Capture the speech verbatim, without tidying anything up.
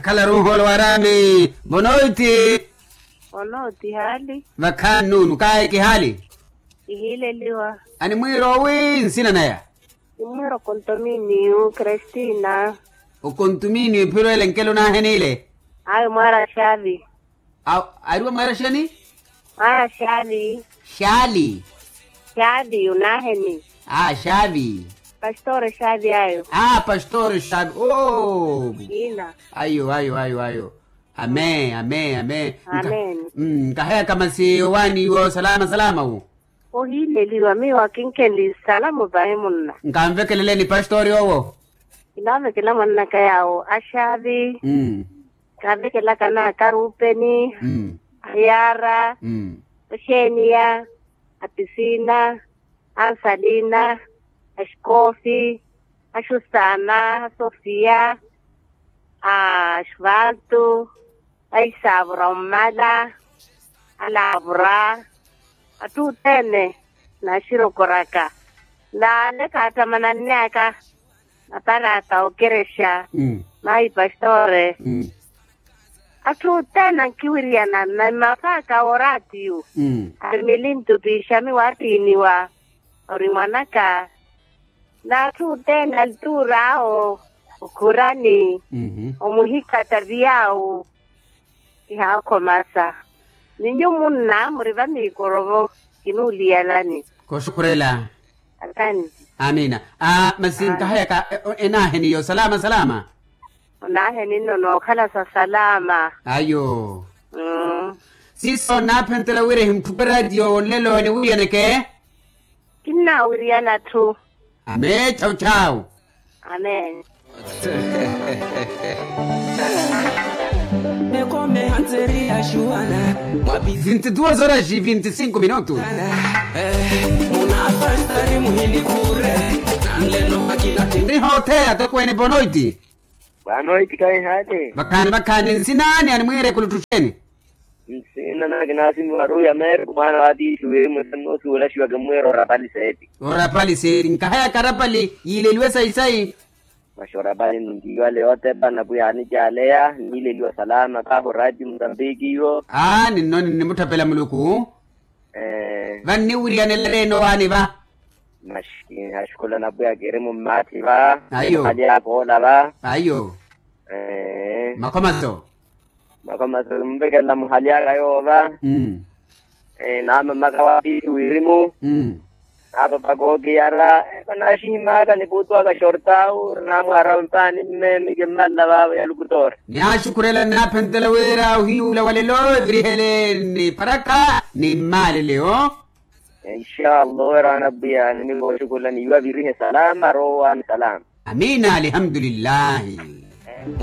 Khalaru nhoolo waraami. Bonoiti. Bonoiti haali. Vakhaani nuunu kaaye kihaali. Ihiileliwa. Animwiiro owi nsina naya? Nimwiiro kontominiyu kristina. Okontominiyu ephiro ele nkelo naaheniile. Ayo mwaara xaavi. Awo ariwa mwaara xani? Mwaara xaavi. Xaali. Xaavi unaaheni. Aa xaavi. Pastore xaavi ayo. Aa pastore xaavi oo. Ayo ayo ayo ayo. Amee amee amee. Nkaheyaka masi owaani iwo salama salama wu. Ohiileliwa miyo akinkhenli salamo vahi munna. Nkanvekeleleni pastori owo. Kinaavekela mannaka yaawo axaavi. Kaavekelaka naaka ruupeni, ahiyaara, oxeeniya, apisina, ansalina, axikoofi, axusaana, asofiya, axuvantu, axisaavura ommala, alaavura, atthu othene naaxirokoraka. Naale kaattamanannyaka aparata okerexa mahi pastore. Atthu othene ankiwiriyana na mmafaaka wooraatiyu. Ari milintu piixami waattiiniwa ori mwanaka. N'atthu othene alituur'awo okhurani omuhikha taviyawu. Kihaakhomasa ni nyuwo munna muri vamiikorovo. Kinuuliyalani. Kooxukhurela. Akani. Amina. Masi nkahayaka enaaheni yo salama salama. Onaaheni nno nookhala sa salama. Ayo. Siiso naaphentela wira ehintthupera etiyo olelo eniwiriyaneke. Kinnaawiriyana atthu. Amee chawu chawu. Amee. Vinti duas horas e vinti cinco minutos. Nihootheya tokweene bonoiti. Vakhaani vakhaani nsinani animwiire kuluttuxeni. Nsinani kinaasimiwa ruya meru mwaana wa tiithi wirimu ese nnoosuwelaxiwa kimwiira orapali seeti. Orapali seeti nkahayaka arapali yiileliwe sayi sayi. Maxi orapali nintiiwale yootepa napwiya aanicaaleya niileliwa salama kahu raati musambiki iwo. Aa ninno ninnimutthapela muluku. Vanniwiriyanela ereene owaani va. Maxi kinaxukhula napwiya kiri mummaathi va. Ayo. Muhali aka oola va. Ayo. Makhomaso. Makhomaso nimvekelela muhali aka yoola va. Naamamaka wa piihi wirimu. Naapapa kookiyara. Eko naaxihimaka nikuutuwaka xortawu naamwaara mpaani mme mikimmanla vaavo ya lukutoori. Nihaaxukhurela nnaaphentela wira ohiyuula walelo evirihele ni paraka ni mmaleleyo. Inshaallah oweeraana pwiya nimikooxukhula niiwa virihe salama rowaani salama. Amiina alihamdulillahi.